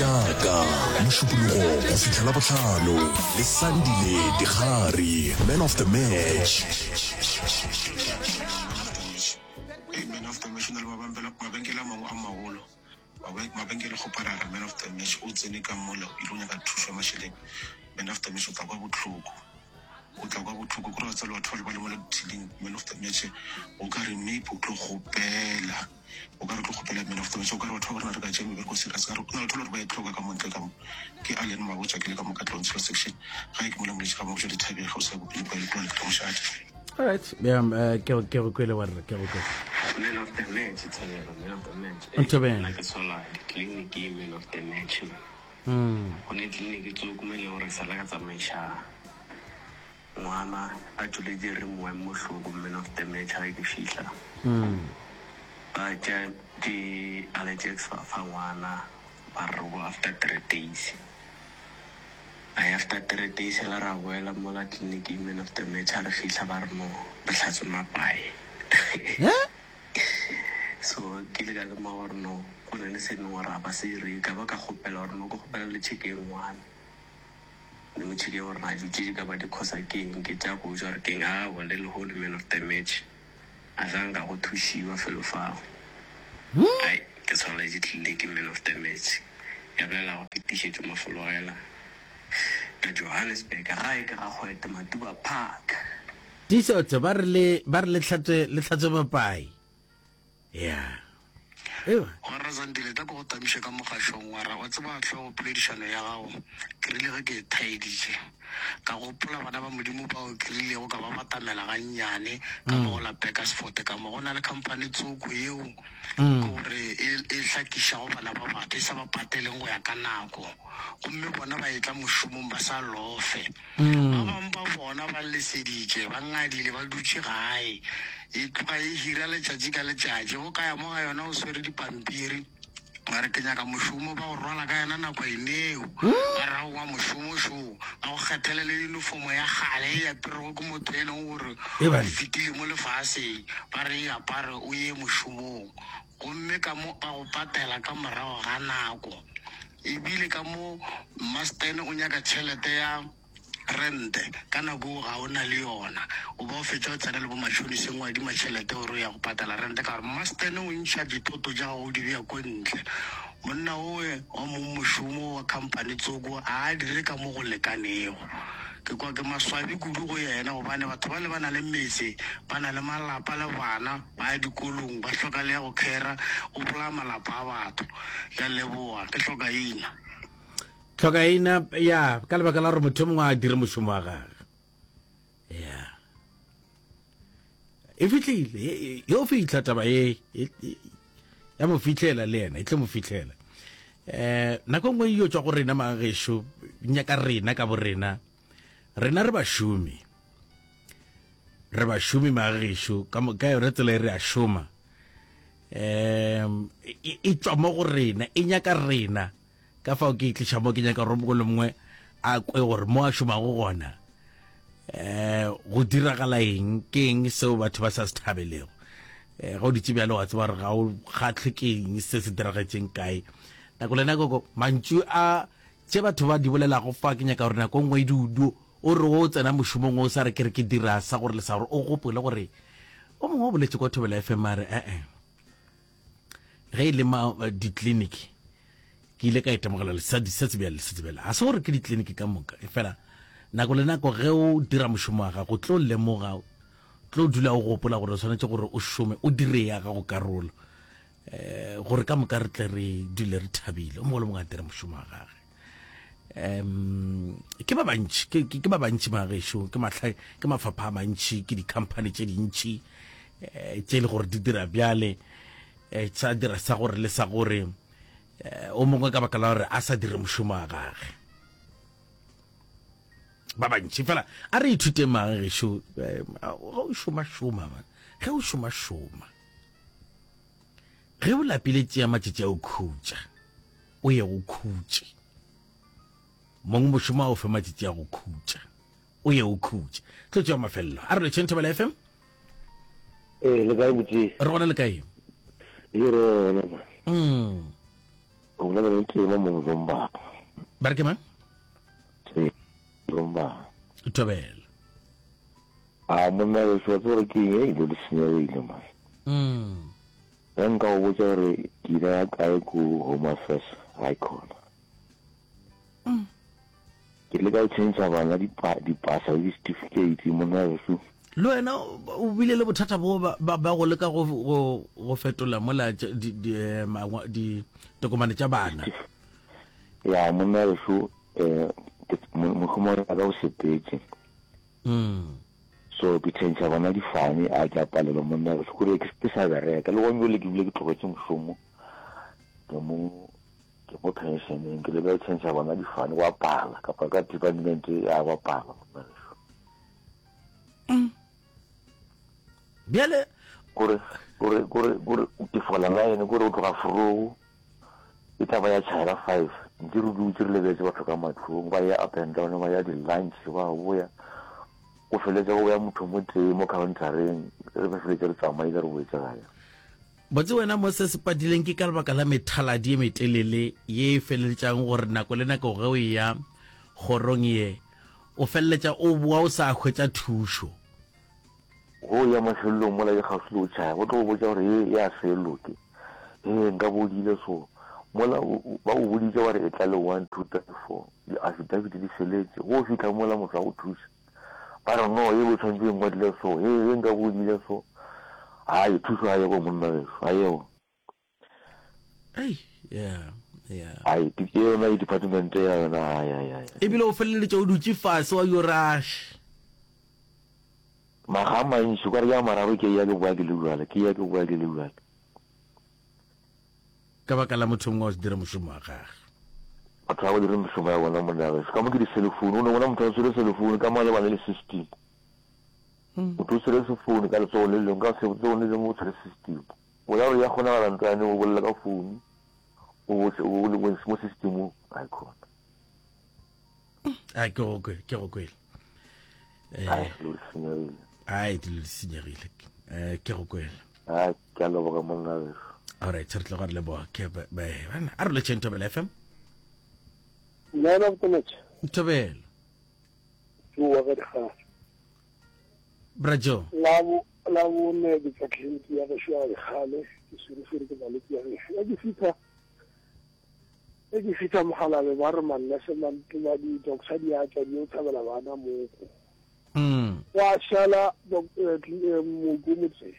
Tša Ka, Mošupologo go fihla Labohlano le Sandile Dikgari, Man of the Match. Hey, man of the match o na le mabenkele a mangwe a magolo mabenkele kgoparara man of the match o tsene ka mola o ile go nyaka thušo ya mašeleng man of the match o tla kwa bohloko o tla kwa bohloko kore wa tseba batho ba le ba le mola dithiling man of the match o ka re maybe o tlo kgopela O ka re tlo kgopela man of the match, o ka re batho ba rena re ka tšea mebereko serious ka re go na le batho ba le gore ba e hloka ka mo ntle ka mo. Ke Allen Mabotja ke le ka mo Katlehong Tshilo Section. Gae ke mola Moletši ga Mabotja Dithabeng kgauswi ya Bopedi Poelo Polane ke Mošate. Alright, yeah, uh, ke ke go kwele wa re ke go kwele. Man of the match, Thabelo, man of the match. Nthobela. Nna ke sola ditleliniki man of the match. Mm. Go ne tleliniki tsoko mo e leng gore ke sala ka tsamaiša Ngwana a tšweletše re moeng mohloko man of the match ge ke fihla. Ba tšea di allergex ba fa ngwana ba re go after 3 days. Ai after 3 days la ra boela mola clinic man of the match ha re fihla ba re no re hlatswe mapae. So ke ile ka lemoga gore no go na le se leng gore ga ba se re ka ba ka kgopela gore no ke kgopela le check-eng ngwana. Le mo tšheke gore na dilo tše di ka ba di khosa ke eng, ke tša go ja or ke eng. Aowa, le lehono man of the match a sa nka go thušiwa felo fao. Ai, ke tshwaneletše tlile ke man of the match. Ya bolela go fetišetšo mafologela ka Johannesburg, gae ke ga Kgwete, Matuba Park. Tiišotse ba re le ba re le hlatswe le hlatswe mapai. Ya. Ewa. Warra Zandile, tla ke go tamiše ka mogašong. Warra, wa tseba hlogo poledišano ya gago, ke rile ge ke e thaeditše, ka gopola bana ba Modimo bao ke rilego ka ba batamela gannyane ka mo go la Burgersfort ka mo. Go na le khamphani tsoko yeo ke gore e, e hlakišago bana ba batho, e sa ba pateleng go ya ka nako. Gomme bona ba etla mošomong ba sa lofe. Ba bangwe ba bona ba leseditše, ba ngadile, ba dutše gae. E tloga e hira letšatši ka letšatši. Go ka ya mo ga yona o swere dipampiri, ba re ke nyaka mošomo, ba go rwala ka yona nako eneo. Ba re aowa mošomo šo, ba go kgethele le unifomo ya kgale e aperego ke motho e leng gore o fetile mo lefaseng, ba re e apare o ye mošomong. Gomme ka mo ba go patela ka morago ga nako. E bile ka mo Mmasten o nyaka tšhelete ya rente, ka nako eo ga o na le yona. O ba o fetša o tsena le bo matšhoniseng o adima tšhelete gore o ya go patala rente ka gore Mmasten o ntšha dithoto tša gago o di bea ko ntle. Monna owe wa mong mošomo wa khamphani tsoko ga a dire ka mo go lekanego. Ke kwa ke maswabi kudu go yena gobane batho bale ba na le metse, ba na le malapa le bana. Ba ya dikolong, ba hloka le ya go khera, o bolaya malapa a batho. Ke a leboga, ke hlokaina. Tlhokaina, ya, ka lebaka la gore motho yo mongwe a dire mošomo wa gage. Ya. E fihlile, yo fihla taba ye, ya mo fihlela le yena, e tlo mo fihlela. Eh, nako nngwe e yo tšwa go rena magešo, nyaka rena ka borena. Rena re bašomi. Re bašomi magešo, ka ka yona tsela e re a šoma. Um e, e tšwa mo go rena, e nyaka rena. Ka fao ke e tliša mo ke nyaka gore mongwe le mongwe a kwe gore mo a šomago gona eh go diragala eng, ke eng seo batho ba sa se thabelego. Eh ga o ditse bjalo wa tseba gore ga o kgatlhe ke eng se se diragetšeng kae. Nako le nako mantšu a Tše batho ba di bolelago fa, ke nyaka gore nako nngwe e du, o re o tsena mošomong o sa re ke re ke dira sa gore le sa gore, o gopole gore o mongwe o boletše kwa Thobela FM a re e-e ge e le ma ditleliniki ke ile ka itemogela se se bjale se bjale ga se gore ke ditleliniki ka moka e fela nako le nako ge o dira mošomo wa gago tlo lemoga tlo dula o gopola gore o swanetše gore o šome o dire ya gago karolo eh gore ka moka re tle re dule re thabile o mongwe le mongwe a dire mošomo wa gage um ke ba bantši ke, ke, ke ba bantši magešo ke mahla ke mafapha a mantši ke di-company tše dintši eh, tše e le gore di dira bjale eh, tsa dira sa gore le sa gore eh, o mongwe ka baka la gore a sa dire mošomo wa gage ba bantši fela a re ithuteng magešo eh, ga o šoma šoma man ge o šoma šoma Ge o lapile tšea matšatši a o khutša, o ye go khutše. Mong mošomo a o fe matšatši a go khutša, o ye o khutše. Tlo tšea mafelelo. A re letšheng Thobela FM. Ee, le kae botse? Re gona le kae? Ye re gona ma. Mm. O bolela le Tema mo Mzomba. Ba re ke mang? Mzomba. Thobela. A monna gešo wa tseba gore ke eng e dilo di senyegile man. Mm. Ge nka go botša gore ke ile ya kae ko Home Affairs ga e khona. Mm. Ke leka go tšhentšha bana dipasa le di-certificate monna gešo. Le wena o bile le bothata bo ba go leka go go go fetola mola eh, ditokomane tša bana. Ya monna gešo eh mošomo wa ka o sepetse. Mm. So ke tšhentšha bona difane a ke a palelwa monna gešo kore ke sa bereka le gone jale ke bile ke tlogetše mošomo ke mo Ke mo pensioneng, ke leka go tšhentšha bona difane gwa pala, kapa ka department ya gwa pala monna gešo. Mm. Bjale kore kore kore kore ke fola line kore o tloga forogo e tla ba ya tšhaela 5 ntse re dutse re lebetse batho ka matlong ba ya up and down ba ya di-lunch ba boya go feletse go boya motho mo tee mo countereng re feletse re tsamaile re boetse gae Botse wena mo se se padileng ke ka lebaka la methaladi e metelele ye e feleletšang gore nako le nako ge o eya kgorong ye o feleletša o boa o sa hwetša thušo. Go ya mafelelong mola e kgauswi le go tšhaya go tlo go botša gore ye ya se loke, hee nka bo o diile so. Mola ba go boditše ba re etla le one, two, three, four, di-affidavit di feletše, go fihla mola motho a go thuša. Ba re, No, ye bo tshwanetse e ngwadile so, ye, ye nka bo o diile so. Hai, thušo ga yego monna weso, ga yego. Ei, yeah, yeah. Hai, ke yona e department ya yona, hai, hai, hai. Ebile o feleletša o dutše fase wa yo rush. Makga a mantši, o ka re ke a mararo ke ya ke boa ke le bjale, ke ya ke boa ke le bjale. Ka baka la motho mongwe wa se dire mošomo wa gage. Batho ga ba dire mešomo ya bona monna gešo. Ka mo ke di-cellphone, o no bona motho a tshwere cellphone ka mo a lebane le system. Motho o tshwere sephone ka letsogo le lengwe, ka letsogong le lengwe o tshwere system. O ya gore ya kgonagala ntwa yane o bolela ka phone, o o le mo systemong, ga e khona. A ke go kwele, ke go kwele. Eh, Ai, dilo di senyegile. Ai, dilo di senyegile. Eh, ke go kwele. Ai, ke a leboga monna gešo. Alright, re tlo go re leboga. Ke ba bana, a re letšeng Thobela FM. Man of the match. Thobela. Joe wa ga Dikgale. Bra Joe. La bo la bone ke tsa tleliniki ya gešo ya Dikgale, ke swerefere ke malwetse ya gešo. Ya ke fitha e ke fitha mogalabe ba re mannese ba di-doctor di a tšwa di yo thabela bana moko. Mm. Wa šala eh, eh, mooko motseng.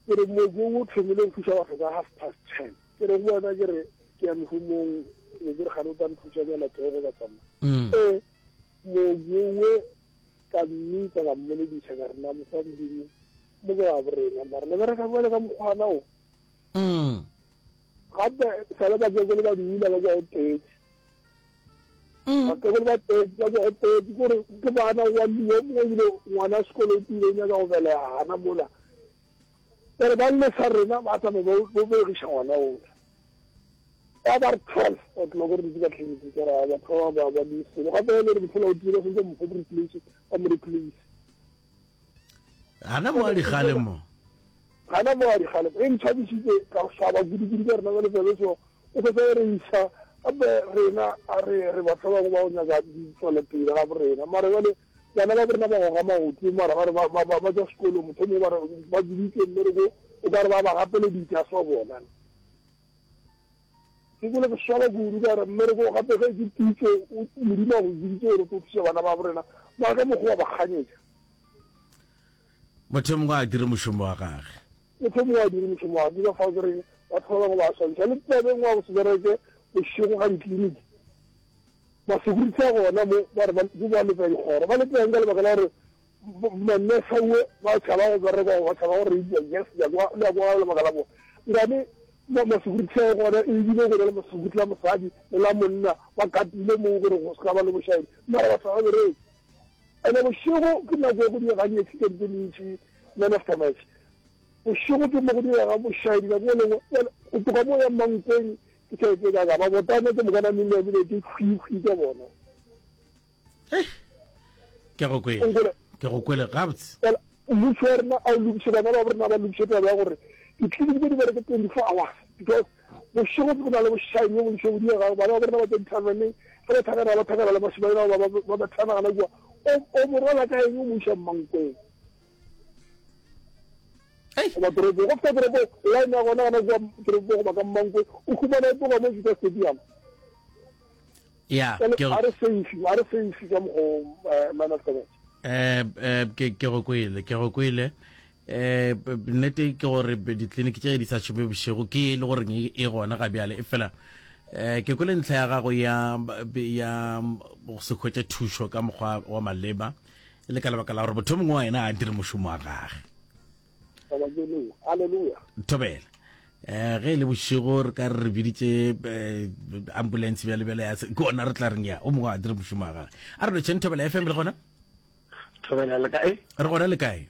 Ke re mooko o thomile go thuša batho ka half past ten. Ke re go wena ke re ke ya mehomong be ke re gane o tla nthuša bjala tsogo ka tsamaya. Mm. Ee, mooki owe ka mmitsa ka mmolediša ka re na mofa modimo mo ke ga borena mara le bereka bjale ka mokgwana o. Mm. Gape sale bakekolo ba dula ba kwa go tetse. Mm. Bakekolo ba tetse ba kwa go tetse kore ke bana wa yo mongwe ebile ngwana sekolo o tile o nyaka go belega gana mola. Bjale ba lesa rena ba tsamaya ba begiša ngwana ola. Ba ba re 12 o'clock re dutse ka tleliniking ka ra batho ba ba ba di selo gape e le re mofola o tile ba sentse mo replace ba mo replace. Gana mo a digale mo. Gana mo a digale e ntshwabisitse ka go swaba kudu-kudu ka rena ba lefelo so o fetsa re isa gape rena a re re batho ba bangwe ba go nyaka ditswelopele ga borena mara jale bana ba borena ba goga maoto mara ba re ba tswa sekolong motho mongwe ba re ba biditse mmereko o ka re ba ba gapeleditse a se bona Ke kwele ke swaba kudu ka gore mmereko gape ge ke pitso Modimo a go biditse gore o tlo thuša bana ba borena mara ka mokgwa wa ba kganyetša. Motho mongwe a dire mošomo wa gage. Motho mongwe a dire mošomo wa gage. Ke ka fao ke reng batho ba bangwe ba swantšha le taba e nngwe ya go se bereke bošego ga ditleliniki. Masecurity a gona mo ba re ba ba lepa dikgoro ba lepa eng ka lebaka la gore manese ba tšhaba go bereka ba tšhaba go reipiwa yes le ya kwa lebaka la bona nkane masecurity a gona ebile go na le masecurity la mosadi le la monna ba katile moo gore go se ka ba le bošaedi mara batho ga ba bereke ene bošego ke nako ya go diega di-accident tse dintši man after match bošego ke mo go diega bošaedi nako e lengwe go tloga mo ya mankweng ke tšhelete ka ka ba botane ke mokana mmele ebile ke khwikhwi ka bona ke go kwele ke go kwele gabotse mmušo wa rena a o lokiše bana ba rena ba lokiše taba ya gore ditleliniki tse di bereke 24 hours because Bošego go na le bošaedi bjo bontši bo diregago. Bana ba bo rena ba tšwa dithaverneng, ge ba thakana ba thakana le bašemane bao ba ba bethana gana kua. O, o mo rwala ka eng o mo iša Mmankweng? Goba toropong. Go fihla toropong, line ya gona gana kua toropong goba ka Mmankweng, o humana e tloga mo Juta Stadium. Ya, Jwale, ke ga re safe, ga re safe ka mokgwa o, eh, man of the match. Eh, eh, ke ke go kwele, ke go kwele. Eh, nnete ke gore ditleliniki tše di sa šome bošego ke e le gore e, e gona ga bjale e fela eh ke kwele ntlha ya gago ya ya go se hwetše thušo ka mokgwa wa maleba e le ka lebaka la gore motho mongwe wa yena a dire mošomo wa gage. Haleluya. Thobela. Eh ge e le bošego re ka re re biditše eh, ambulance bjale bjale ya ke ona re tla reng ya o mongwe a dire mošomo wa gage. A re lotšheng Thobela FM re gona? Thobela le kae? Re gona le kae?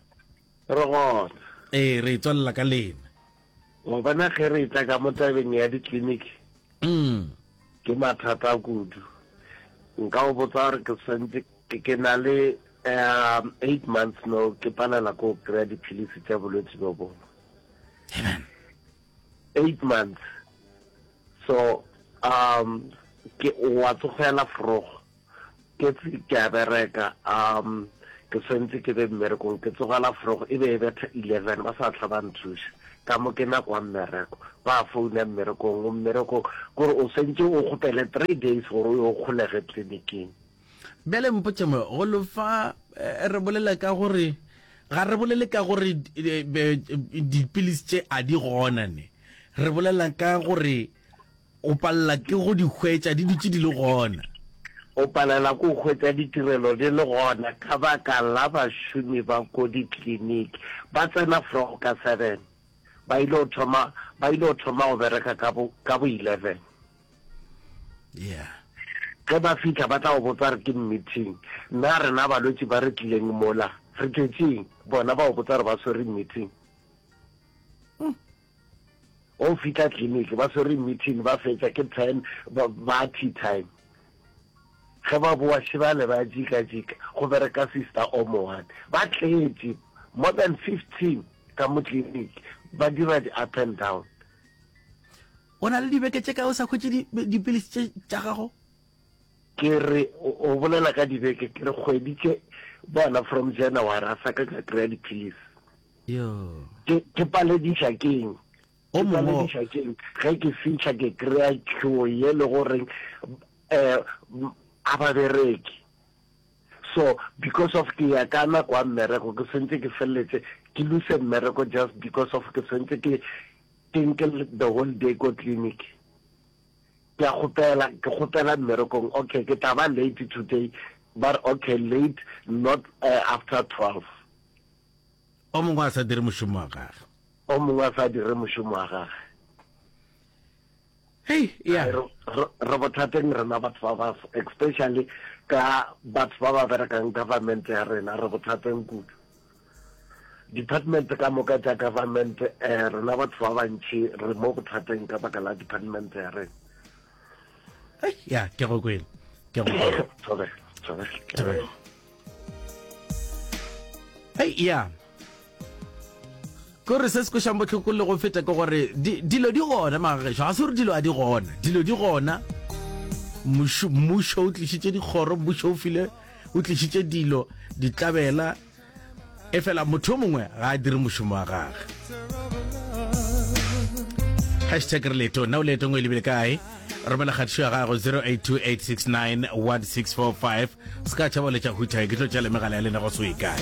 Re gona. Ee, re tswalela ka lena. Wa bona ge re tla ka mo tabeng ya ditleliniki. Mm. Ke mathata kudu. Nka go botsa gore ke swantse ke na le um 8 months no ke palela ko kry-a diphilisi tša bolwetse bjo bongwe. Amen. 8 months. So um ke wa tsogela frogo. Ke tse ke a bereka, um ke swantse ke be mmerekong, ke tsogela vroeg, e be e betha 11, ba sa tla ba nthuša. Ka mo ke nako ya mmereko, ba founa mmerekong, o mmerekong, kore o swantse o kgopele 3 days gore o yo kgolege tleliniking. Bjale mpotše mo, go lo fa, re bolela ka gore, ga re bolele ka gore dipilisi tše a di gona ne, re bolela ka gore O palela ke go di hwetša di dutše di le gona. O palela ke go hwetša ditirelo di le gona ka baka la bašomi ba ko dikliniki. Ba tsena vroeg ka seven, ba ile go thoma, ba ile go thoma go bereka ka bo, ka bo 11. Yeah. Ge ba fihla ba tla go botsa re ke meeting. Na rena balwetši ba re tlileng mola re tletšeng? Bona ba go botsa re ba swere meeting. O fihla clinic ba swere meeting ba fetša ke ten ba, ba tea time. Ge ba boa šebale ba jika jika go bereka sister o mo one. Ba tletše more than 15 ka mo clinic ba dira di up and down. O na le dibeke tše kae o sa hwetše dipilisi tše tša gago? Ke re o bolela ka dibeke ke re kgwedi tše bona from January a sa ka ka kry-a dipilisi. Yo. Ke, ke palediša keng? O Ke mongwe. palediša keng? Ge ke fihla ke kry-a queue ye le goreng um a ba bereke. So because of ke ya ka nako ya mmereko ke swantse ke feleletse ke lose mmereko just because of ke swantse ke ke nke the whole day ko clinic. Ke a kgopela, ke kgopela mmerekong, okay ke tla ba late today, ba re okay late not uh, after 12. O mongwe a sa dire mošomo wa gage. O mongwe a sa dire mošomo wa gage. Hei, ya. Re bothateng rena batho ba baso, especially ka batho ba ba berekang government ya rena, re bothateng kudu. Department ka moka tša government, eh, rena batho ba bantši re mo bothateng ka baka la department ya rena. Hei, ya, ke go kwele. Ke go kwele. Thobela, thobela. Thobela. Hei, ya. Kore se se kwešang bohloko le go feta ke gore dilo di gona magagešo, ga se gore dilo a di gona, dilo di gona. Mmušo o tlišitše dikgoro, mmušo o file, o tlišitše dilo, ditlabela, efela motho o mongwe ga a dire mošomo wa gage. Hashtag re leetong, na o leetong o e lebile kae? Romela kgatišo ya gago 0828691645. Se ka tšhaba o letša hutha, ke tlo tšea le megala ya lena go se o ye kae.